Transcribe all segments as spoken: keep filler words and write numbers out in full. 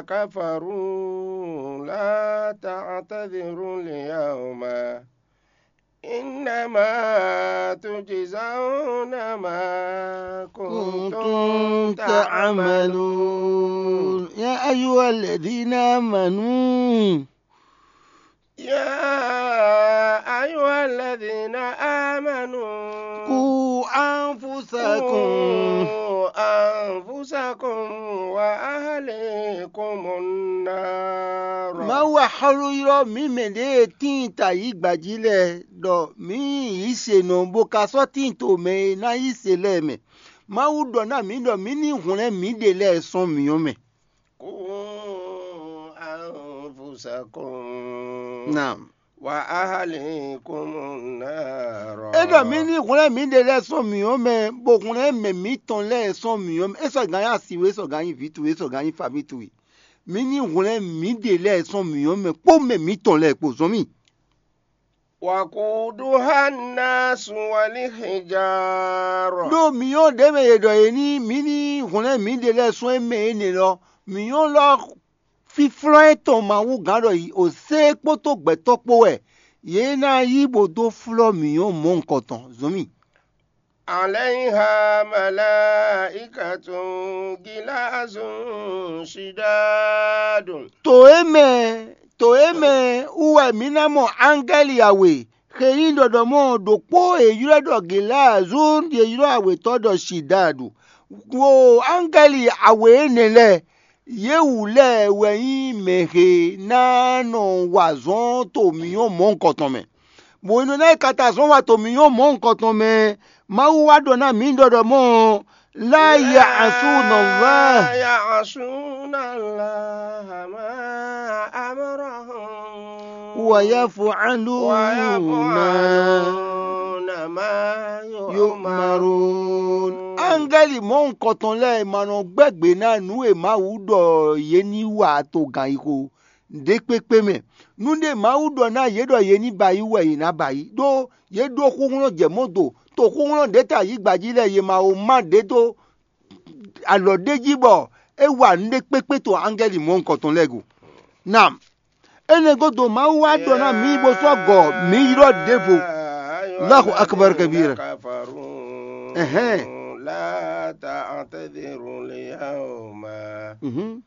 كفروا لا تعتذروا اليوم إنما تجزون ما كنتم تعملون. يا أيها الذين آمنوا يا أيها الذين آمنوا قوا أنفسكم قوا أنفسكم وأهليكم النار. Mawu axɔ́lú ylɔ́ mǐ mɛ ɖěe tíin ta yǐ gbají lɛ́ɛ ɖɔ mǐ yí se nɔ bó ka sɔ́ tíin to mɛ e ná yí se lɛ́ɛ mɛ. Mawu ɖɔ ná mǐ ɖɔ mǐ ní hwlɛ́n mǐɖée lɛ́ɛ sɔ́ mǐ ɔ́ mɛ. قوا أنفسكم Naam. وأهليكم النار. É ɖɔ mǐ ní hwlɛ́n mǐɖée lɛ́ɛ sɔ́ mǐ ɔ́ mɛ, bó hwlɛ́n mɛ mǐtɔn lɛ́ɛ sɔ́ mǐ ɔ́ mɛ. É sɔ́ gǎn nyí asi we, é sɔ́ gǎn nyí vǐ towe, é sɔ́ gǎn nyí faví towe. Mǐ ní hwlɛ́n mǐɖée lɛ́ɛ sɔ́ mǐ ɔ́ mɛ kpó mɛ mǐtɔn lɛ́ɛ kpó zɔn mì. وقودها الناس والحجارة. Ɖó mǐ nyɔ́ ɖě mɛ è ɖɔ yě ní mǐ ní hwlɛ́n mǐɖée lɛ́ɛ sɔ́ é mɛ énɛ́ lɔ, mǐ nyɔ́ lɔ fíflɔ́n e tɔn Mawu gán ɖɔ yi ò sé kpódó gbɛ̌tɔ́ kpó wɛ. Yě ná yí bó dó flɔ́ mǐ nyɔ́ mɔ̌hunkɔtɔn zɔn mì. عليها ملائكة غلاظ شداد. To e mɛ to e mɛ wú wɛ mǐ ná mɔ ángɛ́li awe xe nyí ɖɔɖɔmɔ ɖokpó e ylɔ́ ɖɔ Gilazun, e ylɔ́ awetɔ́ ɖɔ Shidadu. Wo ángɛ́li awe énɛ́ lɛ́ɛ, yě wú lɛ́ɛ wɛ nyí mɛ he ná nɔ wa azɔn to mǐ nyɔ́ mɔ̌hunkɔtɔn mɛ. Bɔ hwenu e ná yi ka ta azɔn wa to mǐ nyɔ́ mɔ̌hunkɔtɔn mɛ, Mawu wá ɖɔ ná mǐ ɖɔɖɔmɔ ɔ́, لا يعصون الله لا يعصون الله ما أمرهم ويفعلون ويفعلون ما يؤمرون. Ángɛ́li mɔ̌hunkɔtɔn lɛ́ɛ ma nɔ gbɛ́ gbe ná nǔ e Mawu ɖɔ yě ní wa to gǎnyixo ɖě kpékpé mɛ. Nǔɖé Mawu ɖɔ ná yě ɖɔ yě ní ba yí wɛ yě ná ba yí, ɖó yě ɖó xúxlɔ́n jɛ mɔ̌ do, to xúxlɔ́n ɖě ta yǐgba jí lɛ́ɛ yě ma wo má ɖě dó alɔ ɖé jí bɔ é wa nǔɖé kpékpé to ángɛ́li mɔ̌hunkɔtɔn lɛ́ɛ go. Nam, énɛ́ gúdo Mawu wá ɖɔ ná mǐ bó sɔ́ gɔ mǐ ylɔ́ ɖěvo. Allahu akbar kabira. Ɛhɛn. لا تعتذروا اليوم Mhm.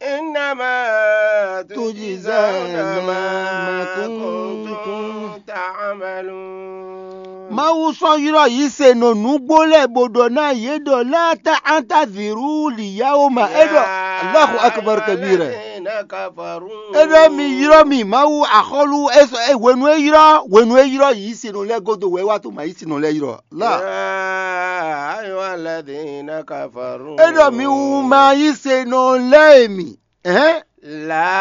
إنما تجزون ما كنتم تعملون. Mawu sɔ́ ylɔ́ yǐ se nɔ nǔgbó lɛ́ɛ bó ɖɔ ná yě ɖɔ لا تعتذروا اليوم. É ɖɔ Allahu akbar kabira. الذين كفروا. É ɖɔ mi ylɔ́ mi Mawu axɔ́lú é sɔ́ é hwenu e ylɔ́ hwenu e ylɔ́ yǐ se nɔ lɛ́ɛ gúdo wɛ é wá tó ma yí se nɔ lɛ́ɛ ylɔ́. La. يا أيها الذين كفروا. É ɖɔ mi wú ma yí se nɔ lɛ́ɛ mi. Ɛhɛn. لا